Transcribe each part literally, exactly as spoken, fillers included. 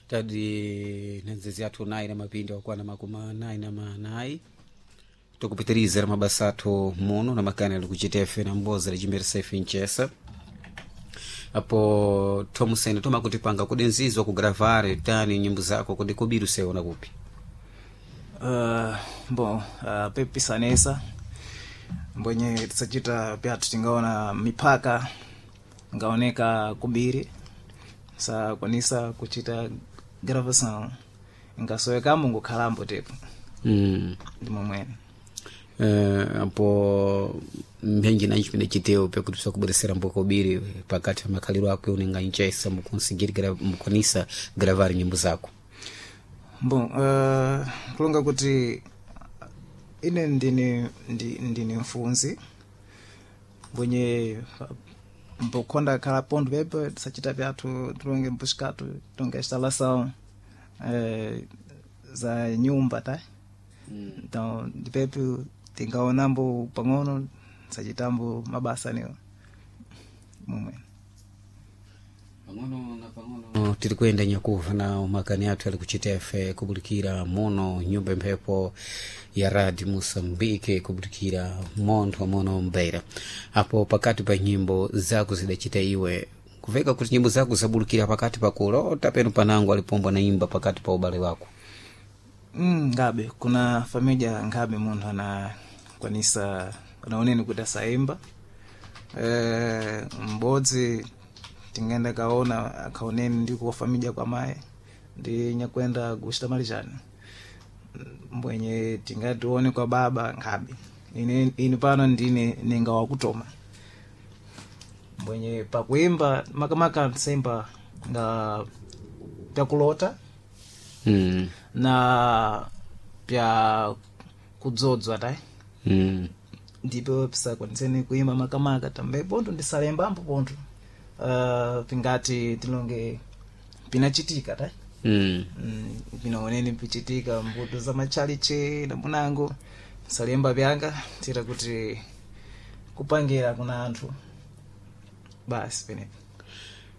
Tadi nenzezi athu nayi na mapindi wakwana makumi anayi na manayi, tukupitiriza mabasa athu muno na makani ali kuchitefe na mboza lichimberesa ife nchesa apo thomusene tomakutipanga kudi nzizwa kugravare tani nyimbo zako kudi kubiri useona kupi? Uh, bon, uh, pepisanesa mbwenye tisachita pyathu tingaona mipaka ngaoneka kubiri sakwanisa kuchita gravação ingasowekamo ngukhalambo tepo. mm. Ndi momwene. Eh, apo mphenji nanji pine chiteo pyakuti pisakubweresera mbokobiri pakati pa makhaliro ako unenga nchesa mukunsigiri gra- mukwanisa gravar nyimbo zako? Bon, uh, kulonga kuti ine ndine ndi, ndine mfunzi mbwenye mbokhonda khala ponto pepo tisachita pyathu tilonge mpuxikatu tilonge instalação eh, za nyumba ta mm. Então ndipepo tingaonambo pang'ono tisachitambo mabasa niwo momwe. Pang'ono na pang'ono tiri kuyenda nyakuva na umakani athu ali kuchitefe kubulikira muno nyumba imphepo ya radio Moçambique, kubulikira montho muno mbeira. Apo pakati pa nyimbo zako zidachita iwe kuveka kuti nyimbo zako zabulikira pakati pa kulota penu panango alipombwa naimba pakati pa ubale wako? Mm, ngabe kuna familia ngabe munthu anakwanisa anaoneni kuti asaimba e, m'bodzi tingaenda kaona akaoneni ndi kuwa familia kwa mayi ndi nyakwenda kuchita malichani mbwenye tingatione kwa baba nkhabe ine, ine pano ndine ninga wakutoma mbwenye pakuimba makamaka nsemba nga pyakulota mm. na pya kudzodzwa tayi. mm. Ndipo pisakwaniseni kuimba makamaka tambe pontho ndisalembambo pontho uh, pingati tilonge pinachitika tayi. mm. mm, pinaoneni pichitika mbuto za machalichi na munango salemba pyanga tira kuti kupangira kuna anthu basi penepo.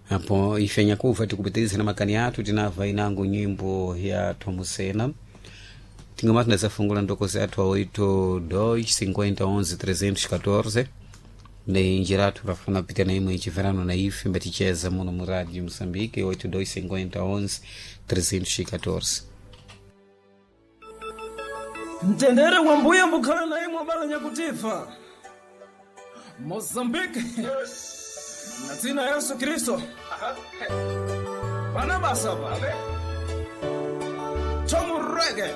Apo ife nyakuva tikupitiriza na makani athu tinava inango nyimbo ya Thomusena tingoma tinazafungula ndokozi athu a oito dois cinquenta onze trezentos catorze ne njira athu rafuna pita na imwe ichiverano na ife mbaticheza muno mu radio Moçambique oito dois cinquenta onze trezentos catorze. Mtendere wa mbuya mbukhala na imwe bala nyakutifa Mozambique na dzina Yesu Kristo pana basa pa Tomurege.